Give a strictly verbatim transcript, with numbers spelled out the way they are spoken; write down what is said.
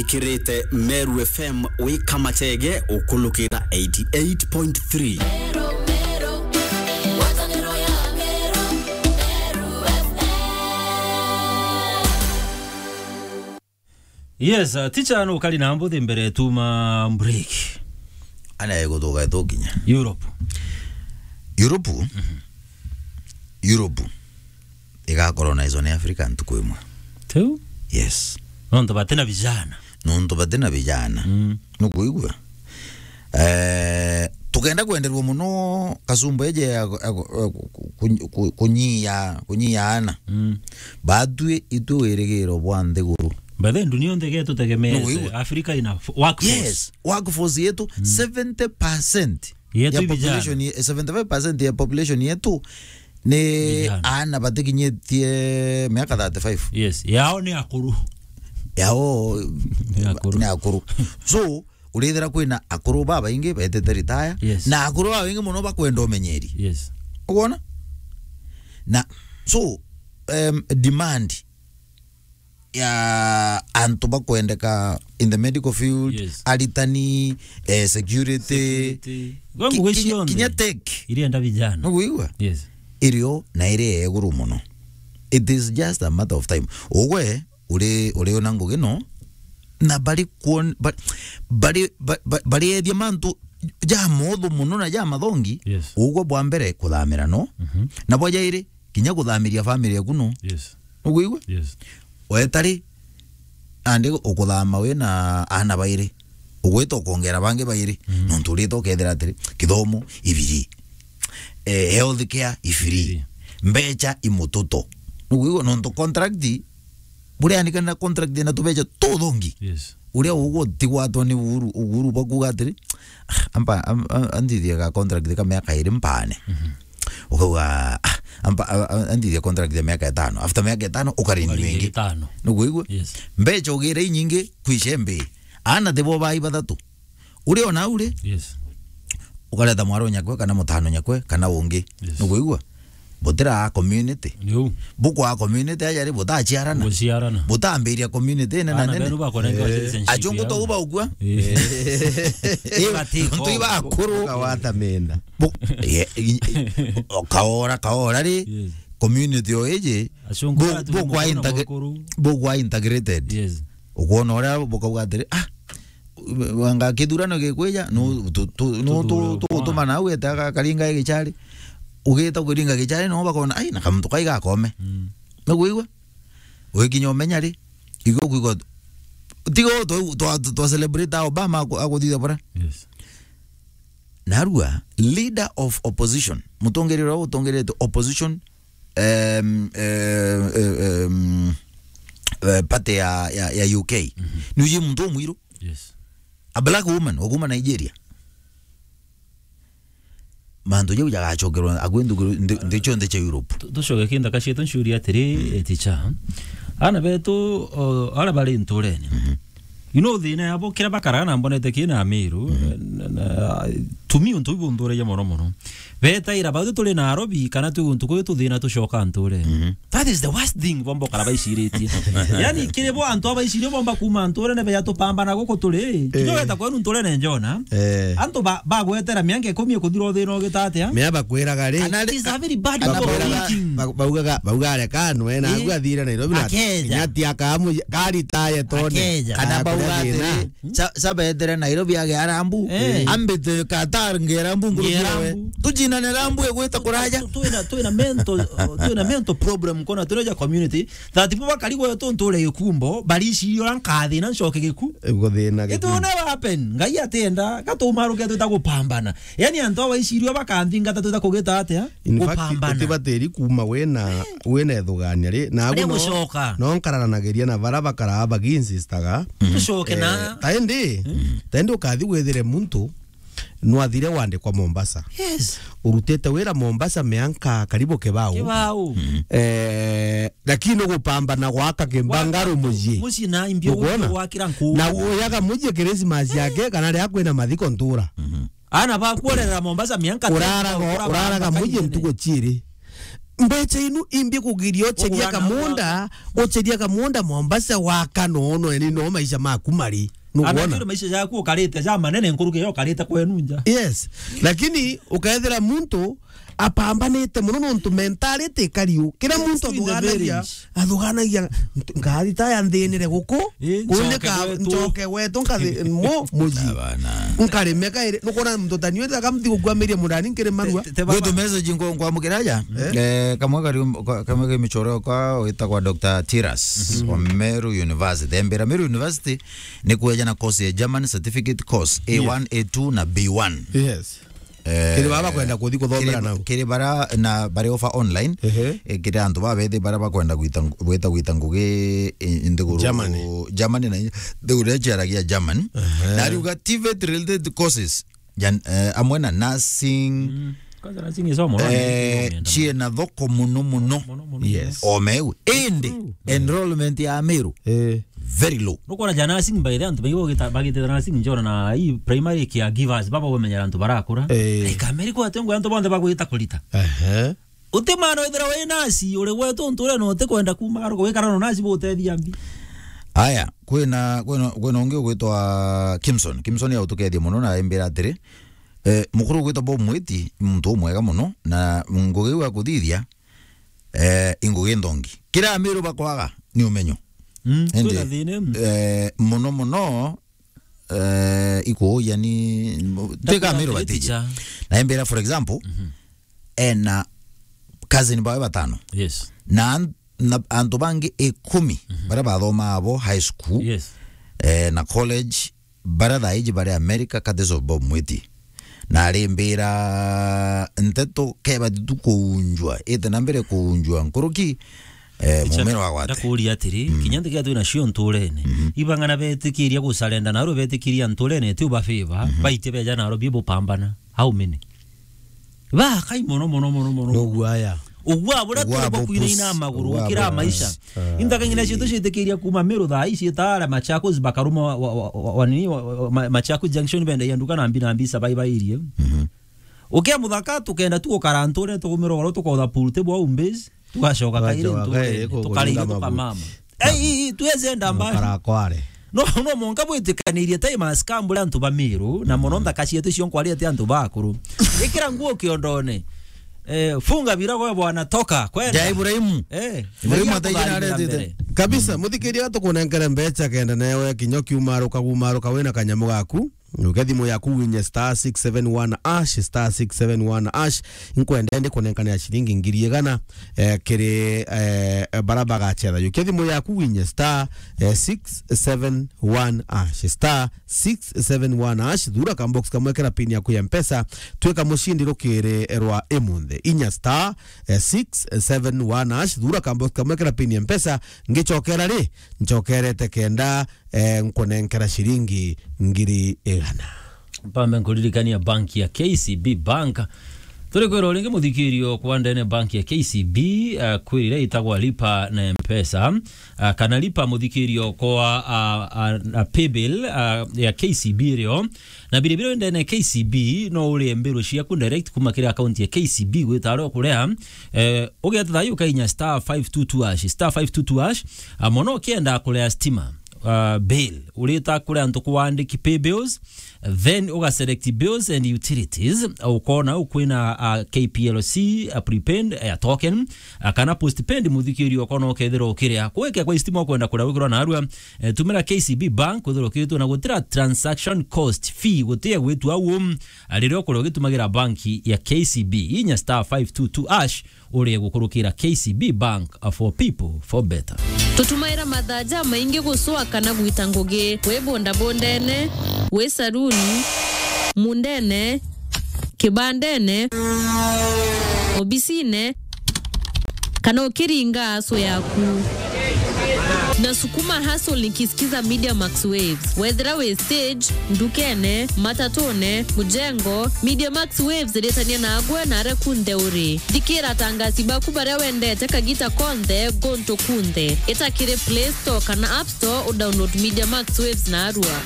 Ikirite Meru F M wi Kamachege ukulukira eighty eight point three. Yes, uh, teacher, no kari na mbuthi mbere tuma break. Ana eguthuka itukinya Europe. Europe? Mhm. Europe igacolonizwa ni Africa ntuku imwe. Tiu? Yes. Nontu batina vijana. Nontu batina vijana. Mm. Nukuigua? Eh, tukenda kwenderwa muno kasumba iji ya, ya, ya ku-, ku-, ku-, kunyia, kunyia ana. Mm. Batwi itwi wirigiro bwa nthiguru. By the way, dunia yonthe getutegemeete. Nukuigua? Africa ina f-, workforce. Yes, workforce yetu, mm, seventy percent yetu ya i vijana. Population ye-, seventy-five percent ya population yetu ni vijana. Ana batikinyitie miaka thirty-five. Yes, yao ni akuru. Yao ni akuru. Ni akuru. So, urithira kwina akuru babaingi betete retire, yes, na akuru babaingi muno bakwenda umenyeri. Yes. Ukwona? Na, so, um, demand ya antu bakwendeka in the medical field, yes, aritani, eh, security, security. Ki-, ngugi kinya, cionthe kinya tech. Irienda vijana. Nukuigua? Yes. Irio na iri ya iguru muno. It is just a matter of time. Ugwe uri, uri ona ngugi no, na bari kuon-, ba-, bari, ba-, ba-, bari ethia mantu ja mothu muno na ja mathongi, yes, ugwe bwa mbere kuthamira no, mhm, na bwa jairi kinya kuthamiria family yaku no. Yes. Nukuigua? Yes. Wetari, andi ukuthama wi na ana bairi. Ugwita ukongera bangi bairi. Mm. Nontu urita ukethira atiri, kithomo, ibiri. Eh, health care, ibiri. Ibiri. Mbecha, imututo. Nukuigua? Nontu contract, buria andikana contract na tubecha tuthongi. Yes. Uria ugwo tigwatwa ni uhuru, uhuru bakuga atiri, "Ah, amba, am-, am-, andithie ga contract ka miaka iri mpane." Mhm. Ukauga, "Ah, amba, a-, a-, andithie contract ya miaka itano." After miaka itano, ukarenew ingi. Ukarenew itano. Nukuigua? Yes. Mbecha ugire inyingi, kwishe mbi. Ana thibo bai bathatu. Uri ona uri? Yes. Ukareta mwaro nyakwe, kana mutano nyakwe, kana ungi. Yes. Nukuigua? Butira community. Niu. Bukwa community aja ri butachiarana. Guchiarana. Butambiria community nene na nene. Ana benu bakonenga, eh, citizenship yao. Achungu to uba ukua. Eh. Eh, bati ntu iba akuru. Ukawata menda. Bu-, ye-, i-, i-, kaora, kaora ri, yes, community o iji, achungu bu-, batu bukwa mukuru na integr-, mukuru. Bukwa integrated. Yes. Ukwona uria bukauga atiri, "Ah, wanga kithurano gikwija, nu-, mm, tu-, tu-, nu-, tu-, tuthure tugutuma kwa nau etaga karinga gichari." Ugita kuringa gichari, no bakona, "Ai, na kamuntu kai gakome." Mm. Nukuigua? Ugikinya umenya ri, igo kuigua, tigo twa, twa, twa celebrate Obama aku-, akuthithia bura. Yes. Narua, leader of opposition, mutongeria uria utongerete opposition, em, eh, em, eh, party ya, ya, ya U K. Mhm. Ni uji muntu umwiru. Yes. A black woman, wa kuma Nigeria. Mantu jau jagacokerwa akwi nthi, nthi cionthe cia Europe. Tu-, tucoke kinthaka cietu, nciuria atiri, mm, eh, teacher, ana betu, o, ara bari nturene. Mhm. You know, thina yabo, kiria bakaraga na mbonete kina Amiru, mhm, na, na, to me, untu buu bunthuragia mono mono. Betaira bau turi Nairobi, kana twi guntu kuyu tuthina tucoka nturene. Mhm. That is the worst thing bomba ukara baiciritie. Yani, kiri bo antu abaicirio bomba kuma nturene beja tupambana guku turi, kinya, eh, ugeta kwenu nturene njona. Eh. Antu ba-, bagwetera mianka ikumi ikuthira uthina ugita atia? Mea bakwiraga ri. It is a very bad way of thinking. Ba-, baugaga, baugaga reka anwe na, eh, agu athire Nairobi na akeja. Kinya ti akamu-, karitaye tone. Akeja. Kana bauga atiri, ca-, ca betere Nairobi age arambu. Eh. Ambite Qatar nge arambu nguru. Nge arambu. Tucindane arambu egwita kuraja. Tu-, twina, twina mental, twina mental problem kona twina ja community. That bo bakari gwetu nture gikumbo, bariciria uria nkathina ncoke giku. Guthina giku. It will never happen. Ngai atienda, gatumaruke twita gupambana. Yani antu abaicirio bakanthingata twita kugita atia? In fact, gupambana. Utibatiri kuma wina, wina ithugania ri. Na agu no, gucoka. No nkararanagiria na bara bakara baginsistaga. Tucoke na. Eh, ta indi, mm, ta indi ukathi withire muntu, nwathire wandikwa Mombasa. Yes. Urutite wira Mombasa mianka karibu kibao. Kibao. Mm. Eh, lakini ugupambana gwaka kimbangaru mucii. Mucii na imbi. Ukwona? Gwakira nkuu. Na uyaga mucii Christmas yake, kana ria kwina mathiko ntura. Mhm. Ana bakuorera Mombasa mianka uraraga, uraraga mucii ntuku ciiri. Mbecha inu imbi kugiria ucheria kamunda, ucheria kamunda Mombasa waka nono, yani no maisha maku mari. Nukwona? Anakiri maisha jaku ukarite ja manene nkuruki ya ukarite kwenu nja. Yes. Lakini ukaethira muntu apambanite muno nontu mentality ikariu. Kira muntu athugaanagia, athugaanagia, "Ntu-, ngari ta ya nthinire guku, kundi nchoke ka-, gwetu. Nchoke gwetu, nkathi-, mo, muji." Abana. Nkarime kairi, nukwona muntu ta niwe, aka mthi gukwamiria murani nkiri marua. Te, te baba. Gwetu message nkwa-, nkwamukira aja. Eh? Eh, kamwe kari, ka-, kamwe kari michoro kwa witagwa Doctor Tiras, mhm, wa Meru University. Embira Meru University ni kueja na course ya German certificate course, A one, yes, A two na B one. Yes. Eh, kiri baba kwenda kuthi kuthomera kiri, nau. Kiri bara na bari offer online, ehe, eh, kiri antu babethi bara bakwenda gwita ng-, gwita gwita ngugi i-, i nthiguru Germany. Germany na nthiguru iria ciaragia German. Ehe. Na ariuga TVET related courses, jan-, eh, amwe na nursing, mm, kwanza nursing isomo, no, eh, ni, ni, ni, ciena thoko muno muno. Muno, muno, yes, muno. Omeu. Indi, true, enrollment ya Meru, eh, very low. Nukwona ja nursing by the antu baingi bagita-, bagitira nursing njona na hii primary caregivers baba bamenyera antu barakura. Eh. Ikameri kwa tengo antu bonthe bagwita kurita. Ehe. Uti mwana withira wi nasi, uri gwetu nture no uti kwenda kuma garuka wikara no nasi butethia mbi. Aya, kwina, kwina, kwina ungi ugwitwa Kimson. Kimson ya utukethia muno na embira atiri, eh, mukuru ugwitwa Bob Mwiti, muntu umwega muno, na ngugi iu akuthithia, eh, ingugi nthongi. Kira Amiru bakwaga ni umenyo. Mm, indi, kwina thina iu, eh, muno muno, eh, ikuuja ni, tika Amiru batiji. Teacher. Na embira, for example, mhm, ena cousin bawe batano. Yes. Na an-, na antu bangi ikumi, mhm, baria bathomaa abo high school, yes, eh, na college, baria thaa iji bari America, courtesy of Bob Mwiti. Na arimbira nteto kebati tu kuunjwa, ite na mbere kuunjwa nkuruki, eh, mumero wa gwate. Ndakuuria atiri, mm, kinya nthigati twina cio nturene, mhm, ibang'ana betikiria gucarenda naro betikiria nturene ti uba favor, mhm, baite beja naro bi bupambana. How many? Bakai mono, mono, mono, mono. Nogwaya. Ugwa buria turi bwa kwinaina amaguru, ugwa gukira maisha. Ah. Inthaka ng'ina cietu ciitikiria kuma Meru thaa ii ciitaara Machakos bakaruma wa, wa, wa, wa, wa, nini, wa, wa, Ma-, Machakos Junction benda ya nduka na mbi na mbi sabai bairie. Mhm. Ukia muthaka tukenda tu gukara nture tugumira ugoro tukotha pool table home base, tugacoka kairi nture, tukaria tukamama. Ei, tuweze enda mbali. Karakware. No, no, monka bwitikanirie tai maskambure antu ba Miru, na mono nthaka cietu cio nkwaria ti antu bakuru. Ikira nguo kiondone. Eh, funga virago we bwana, toka, kwenda. Ja Ibrahimu. Eh, Ibrahimu ataijira aretete. Kabisa, muthikiria tukunenkere mbecha kenda newe kinya kiumaruka, gumaruka wina kanyamu gaku. Uke thimu yaku winye star six seven one hash, star six seven one hash. Nkwenda ndi kunenkanira ciringi ngiri igana, eh, kiri, eh, bara bagacetha. Uke thimu yaku winye star, eh, six seven one hash, star six seven one hash. Thura ka box kamwe kira pin yaku ya Mpesa. Twika mucindi rukiri rwa imunthe. Inya star, eh, six seven one hash. Thura ka box kamwe kira pin ya Mpesa. Ngicokera ri, ncokerete kenda eh, nkunenkera ciringi ngiri igana. Mpambe nkuririkania banki ya K C B Bank. Turi kwira uringi muthikirio kwa ndene banki ya K C B, eh, kwirire itagwa Lipa na Mpesa, ah, kana Lipa muthikirio kwa, ah, ah, ah, paybill, ah, ya K C B irio. Na biria biria ndene K C B no urie mbiru ciaku direct kuma kiri account ya K C B gwita aria ukuria, eh, ugeta thayu ukainya star five two two hash, star five two two hash, ah, mono ukienda kuria stima, uh, bill. Urita kuri antu kuandiki pay bills, then uga select bills and utilities, ukona ukwina, uh, K P L C, uh, prepaid, uh, token, uh, kana postpaid muthikiri ukona ukethira ukiria. Kuwekea kwa istima ukwenda kuria wikirwa narua, eh, tumira K C B Bank kwithirwa ukiritwe na gutira transaction cost fee gutia gwitua au, uh, riria ukuria ugitumagira banki ya K C B. Inya star five two two hash, urie gukurukira K C B Bank, uh, for people, for better. Tutumaira mathaa jamaingi gucwa kana gwita ngugi, wi bondabondene, wi saruni, mundene, kibandene, obisine, kana ukiringa aso yaku. Nasukuma hustle nikisikiza Media Max Waves. Wethira wi stage, ndukene, matatune, mujengo, Media Max Waves iritania nagwe na aria kunthe uri. Thikira atangasi baku baria wendete kagita konthe, guntu kunthe. Ita kiri Play Store kana App Store, udownload Media Max Waves narua.